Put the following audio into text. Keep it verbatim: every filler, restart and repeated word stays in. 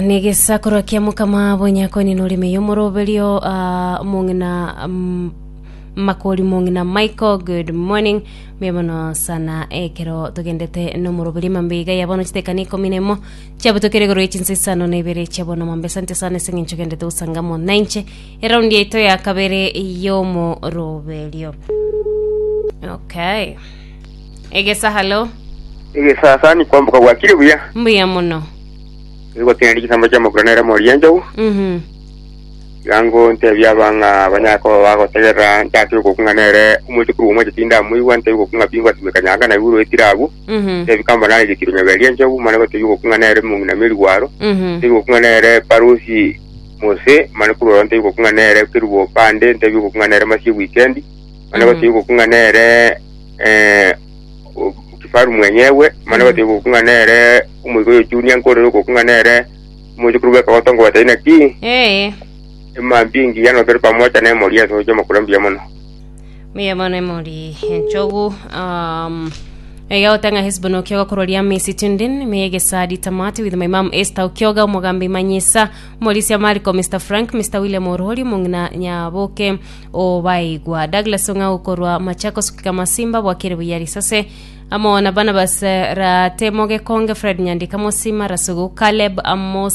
Negesakorwa kia mokama bonyakoni norime yomoroberio uh, mong'ina um, makori mong'ina Michael, good morning, mbuya mono sana. Ekero togendete nomoroberio mambe iga ya bono chitekani ikomi na emo chiabutokere igoro ye chinsa isano na ibere chia bono mambe. Asante sana ase eng'encho ogendete gosanga nainche eraundi yaito ya kabere yomoroberio. Okay, Egesa, hello. Egesasani kwamboka, bwakire buya? Mbuya mono. Igotenda gisamba kia makura nere mori enjogu. mhm Yango ntebia abang'a banyako bagotegerera nchake gokung'a nere omochukuru omwe tinda muigwa ntebi gokung'a bingwa simeka nyanga na iguru etirabu. Mhm ntebi kamba nare gitiro nyaberia enjogu mane gotebi gokung'a nere mung'ina meri gwaro. Mhm ntebi gokung'a nere parusi mose mane kurora ntebi gokung'a nere kirubo pande ntebi gokung'a nere masie weekend mane Mhm. gotebi gokung'a nere eh o- kifaru mwenyewe mane Mhm. gotebi gokung'a nere omoigo junior nkorere gokung'a nere omochukuru bweka gotongo batai naki. Eh. Emambi engiya notore pamoja na emori ase oche makura, mbuya mono. Mbuya mono emori enchogu. um, Ega otanga Hesbon Okioga korwa Misi Tundin megesadi tamati with my mom Esther Okioga, omogambi Manyisa, Morisia Mariko, Mister Frank, Mister William Orori, mong'ina Nyaboke Obaigwa, Douglas Ong'au korwa Machakos Kamasimba, bwakire buya risase amo na Barnabas eh, Ratemo Gekonge, Fred Nyandika, Mosima Rasugu, Caleb Amos.